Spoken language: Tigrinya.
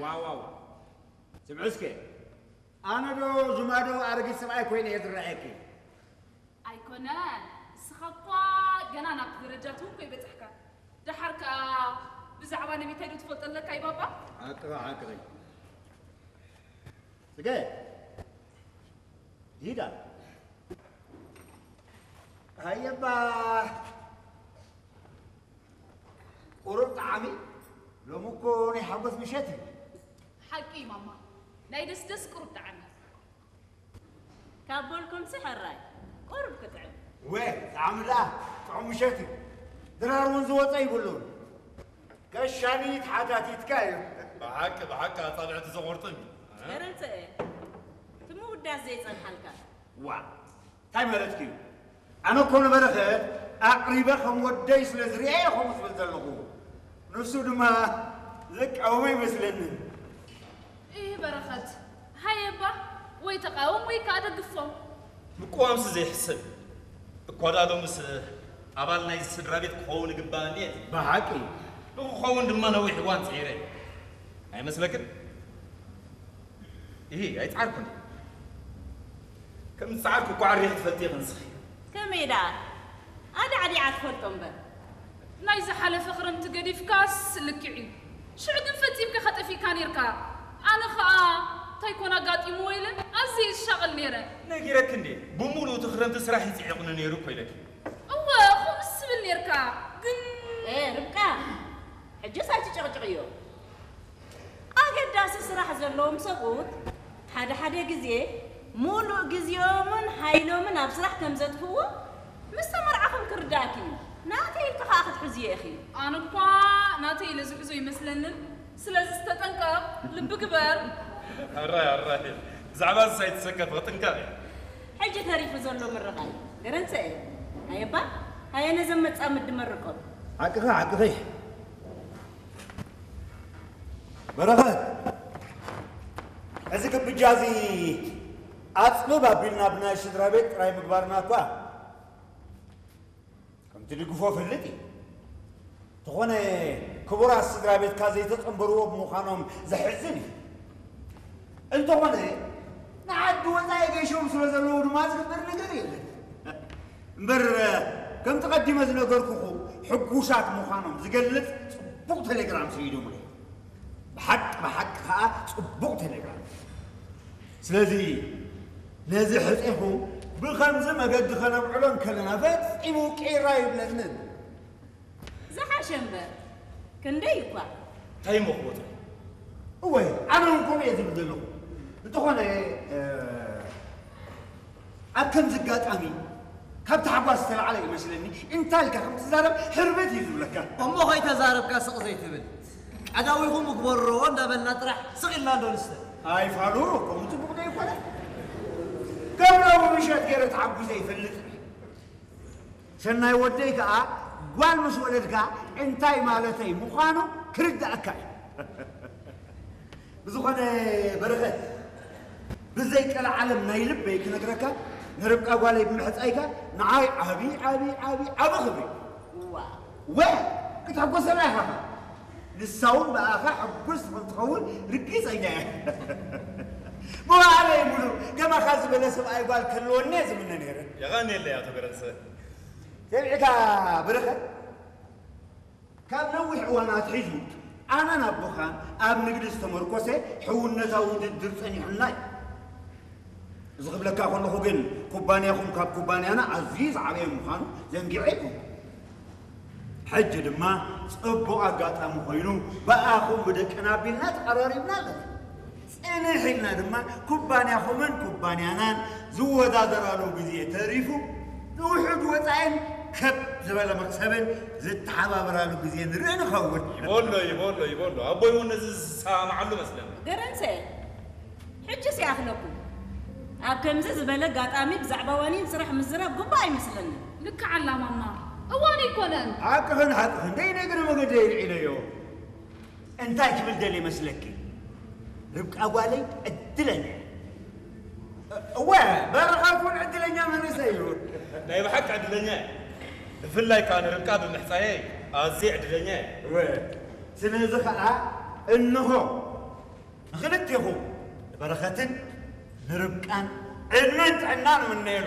ዋ ዋ ዋ፣ ስምዒ እስከ፣ ኣነ ዶ ጅማዶ ኣረጊት ሰብኣይ ኮይነ እየ ዝረኣየኪ? ኣይኮነን፣ ንስኻ እኳ ገና ናብቲ ደረጃ ትውኮ ይበጻሕካ። ደሓር ከኣ ብዛዕባ ነቢታይ ዶ ትፈልጦ ኣለካ ይባባ? ሓቅኺ፣ ሓቅኺ። ጽገ፣ ሂዳ። ሃየባ፣ ቁሩብ ጣዕሚ፣ ሎሚ እኮ ናይ ሓጎስ ምሸት እዩ። ሓቂ እዩ ማማ፣ ናይ ደስደስ ቁሩብ ጣዕሚ። ካብ በልኩምሲ ሕራይ ቁሩብ ክጥዕም። ወ ጣዕሚ ደኣ ጥዑም ምሸት እዩ። ድራር እውን ዝወፀ ይብሉን። ከሻኒ ተሓታቲትካ እዩ። ብሓቂ ብሓቂ ኣፃብዕቲ ዘቑርጥም እዩ። ገረንሰኤ እቲ ምውዳስ ዘይፀንሓልካ። ዋ እንታይ ማለትኪ እዩ? ኣነ እኮ ንበረኸት ኣቕሪበ ከም ወደይ ስለ ዝርእየ ከምኡ ዝብል ዘለኹ። ንሱ ድማ ዝቃወሞ ኣይመስለንን። እህ በረኸት፣ ሃየ እባ ወይ ተቓወም ወይ ከኣ ደግፎም። ምቅዋምሲ ዘይሕሰብ እዩ። እኳ ደኣ ሎምስ ኣባል ናይዚ ስድራ ቤት ክኸውን ይግባእ እንድየ። ብሓቂ። ንኽኸውን ድማ ነዊሕ እዋን ጽዒረ። ኣይመስለክን? እሂ፣ ኣይጸዓርኩን። ከም ዝጸዓርኩ እኳ ዓሪኺ ትፈልጢ ኢኺ ንስኺ። ከመይ ደኣ? ኣዳዕዲዓ ትፈልጦ እምበር። ናይ ዝሓለፈ ክረምቲ ገዲፍካስ ልክዕ እዩ። ሽዑ ግን ፈጺምካ ኢኻ ጠፊእካ ኔርካ። ኣነ ኸኣ እንታይ ኮን ኣጋጢምዎ ኢለ ኣዝየ እየ ዝሻቐል ኔረ። ነጊረኪ እንድየ። ብምሉኡ እቲ ክረምቲ ስራሕ እዩ ጽዒቑኒ ኔሩ እኮ ኢለኪ። እወ፣ ከምኡስ ትብል ኔርካ። ግን። ኤ ርብቃ፣ ሕጅስ ኣይትጨቕጭቕዮ። ኣገዳሲ ስራሕ ዘለዎም ሰብኡት ሓደ ሓደ ግዜ ሙሉእ ግዜኦምን ሓይሎምን ኣብ ስራሕ ከም ዘጥፍእዎ ምስ ተመርዓኹም ክርዳእኪ እዩ። ናተይ ኢልኪ ከኣ ክትሕዝዮ ኢኺ። ኣነ እኳ ናተይ ኢለ ዝሕዞ ኣይመስለንን። ስለዚስ ተጠንቀቕ፣ ልቢ ግበር። ኣራይ ኣራይ፣ ብዛዕባ እዚስ ኣይትሰከፊ፣ ክጥንቀቕ እየ። ሕጂ ተሪፉ ዘሎ ምርቓይ ገረንሰኤ፣ ኣየባ፣ ኣየ ነዘም መጻምዲ መርቆም። ሓቅኺ፣ ሓቅኺ። በረኸት፣ እዚ ግብጃ እዚ ኣጽብብ ኣቢልና ብናይ ስድራ ቤት ጥራይ ምግባርና እኳ ከም ትድግፎ እፈልጥ እየ። እንተኾነ ክቡራት ስድራ ቤትካ ዘይተጸንበርዎ ብምዃኖም ዘሕዝን እዩ። እንተኾነ ንዓዲ ወጻኢ ገይሾም ስለ ዘለዉ ድማ ዝግበር ነገር የለን። እምበር ከምቲ ቀዲመ ዝነገርኩኹ ሕጉሳት ምዃኖም ዝገልጽ ጽቡቕ ቴሌግራም ሰይዶምለይ። ብሓቂ ብሓቂ ከኣ ጽቡቕ ቴሌግራም። ስለዚ ነዚ ሕጼኹ ብኸምዚ መገዲ ኸነብዕሎ እንከለና ፈጺሙ ቂራ ይብለንን። ዝሓሸ እምበር ክንደይ እኳ። እንታይ እሞ ክወጾ? እወ ኣነ እውን ከምኡ እየ ዝብል ዘለኹ። እንተኾነ ኣብ ከምዚ ኣጋጣሚ ካብ ታሕጓስ ዝተላዕለ ይመስለኒ እንታይ ኢልካ ከም ትዛረብ ሕርብት እዩ ዝብለካ። እሞ ከይተዛረብካ ስቕ ዘይትብል ቀዳዊኹም እግበርዎ እንዳበልና ጥራሕ ስቕ ኢልና እንዶ ንስተ። ኣይ ፋሉ ከምኡ ጽቡቕ ዶ ይኮነ? ከም ሎሚ ምሸት ገይረ ተሓጒሰ ይፈልጥ። ሰናይ ወደይ ከኣ ጓል ምስ ወለድካ እንታይ ማለተይ ምዃኑ ክርድኣካ እዩ። ብዝኾነ በረኸት ብዘይ ቀልዓለም ናይ ልበይ ክነግረካ ንርብቃ ጓለይ ብምሕጻይካ ንዓይ ዓቢ ዓቢ ዓቢ ዓቢ ክብሪ እዩ። ወ ክትሕጎሰላ ኢኻ ንሳ እውን ብኣኻ ሕጉስቲ ከም ትኸውን ርግጸኛ እየ። መዋእለይ ሙሉእ ከማኻ ዝበለ ሰብኣይ ጓል ክህልወኒ እየ ዝምነ ነይረ። የቐንየለይ ኣቶ ገረንሰ። ሰሚዕካ በረኸት፣ ካብ ነዊሕ እዋን ኣትሒዙ ኣነን ኣቦኻን ኣብ ንግዲ ዝተመርኮሰ ሕውነታዊ ውድድር ጸኒሑና እዩ። እዚ ክብለካ ከለኹ ግን ኩባንያኹም ካብ ኩባንያና ኣዝዩ ዝዓበየ ምዃኑ ዘንጊዐ ኣይኮንኩን። ሕጂ ድማ ጽቡቕ ኣጋጣሚ ኮይኑ ብኣኹም ብደቅና ኣቢልና ተቐራሪብና ኣለና። ጽንሕ ኢልና ድማ ኩባንያኹምን ኩባንያናን ዝወዳደራሉ ግዜ ተሪፉ ንውሑድ ወጻኢን ከብ ዝበለ መኽሰብን ዝተሓባበራሉ ግዜ ንርኢ ንኸውን። ይበሎ ይበሎ ይበሎ ኣቦይ እውን ነዚ ዝሰማማዓሉ መስለኒ። ገረንሰ ሕጅስ ይኣኽለኩም። ኣብ ከምዚ ዝበለ ኣጋጣሚ ብዛዕባ ዋኒን ስራሕ ምዝራብ ግቡእ ኣይመስለንን። ልክዕ ኣላ ማማ፣ እዋን ኣይኮነን። ሓቅኽን ሓቅኽን ደይ ነግሪ መገዲ የልዒለዮ። እንታይ ክብል ደልየ መስለኪ? ርብቃ ጓለይ ዕድለኛ እያ። እወ በረኸት እውን ዕድለኛ መንእሰይ እዩ። ናይ ብሓቂ ዕድለኛ እየ። ብፍላይ ከኣ ንርብቃ ብምሕጻየይ ኣዝየ ዕድለኛ እየ። እወ ስለዚ ኸኣ እንሆ ክልቴኹም ንበረኸትን ንርብቃን ዕድመን ጥዕናን እምነየሉ።